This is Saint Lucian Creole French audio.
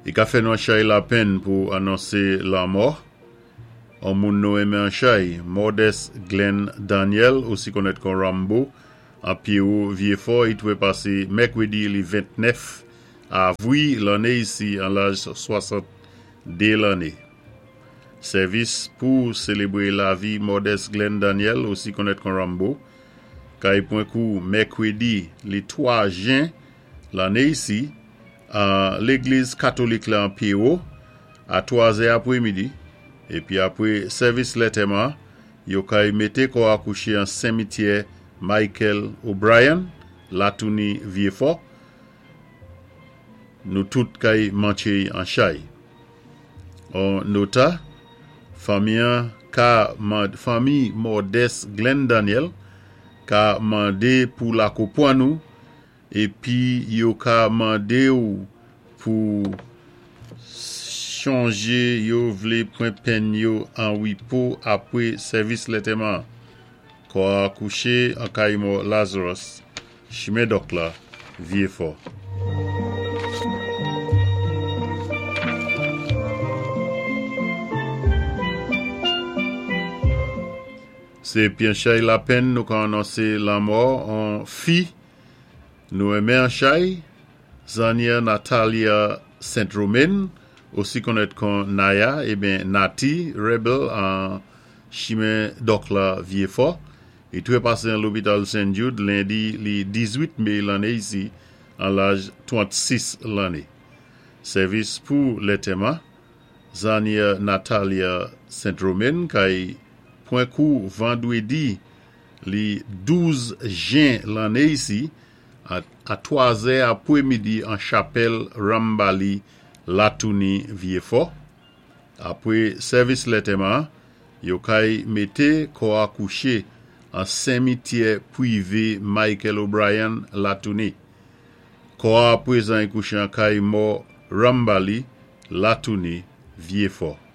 I ka fè nou an chay lapenn pou anonsé lanmò on moun nou enmen an chay, Modeste Glenn Daniel, osi konnèt kon Rambo, an Pyéwo Vyéfò. I twépasé mèkwédi li 29 avwi lanné isi an laj 62 lanné. Sèvis pou sélébré lavi Modeste Glenn Daniel, osi konnèt kon Rambo, kay pwan kou mèkwédi li 3 jen lanné isi an légliz katolik la an Pyéwo a 3 zè apwémidi, épi apwé sèvis lantèman, yo kay mété kò a kouché an senmityè Michael O'Brien, Latouni Vyéfò. Nou tout kay mantché'y an chay. On nota, fanmi an ka mand fanmi Modeste Glenn Daniel ka mandé pou lakopwann ou Epi yo ka mande w pou chonje yo vle pwen penn yo an wipo apwe sèvis lentèman an. Kò a kouche an kay mò Lazarus, chimen Dòk la, Vyefò. Se pyenchay lapenn nou ka anonse lanmò on fi Nou renmen an chay, Zanyè Natalia Saint Romain, osi konnèt kon Naya eben Nati Rebel an chimen Dòk la Vyefò. Li trepase an lopital Saint Jude lendi li 18 me lanne isi an laj 36 lanne. Sèvis pou lentèman, Zanyè Natalia Saint Romain kay pwen kou vandredi Li 12 jen lanne isi, a a 3 zè apwe midi an chapèl Rambali Latouni Vyefò. Apwe sèvis lentèman, yo kay mete kò a kouche an senmityè pwive Michael O'Brien Latouni. Kò a aprezan y kouche an kay mò Rambali Latouni Vyefò.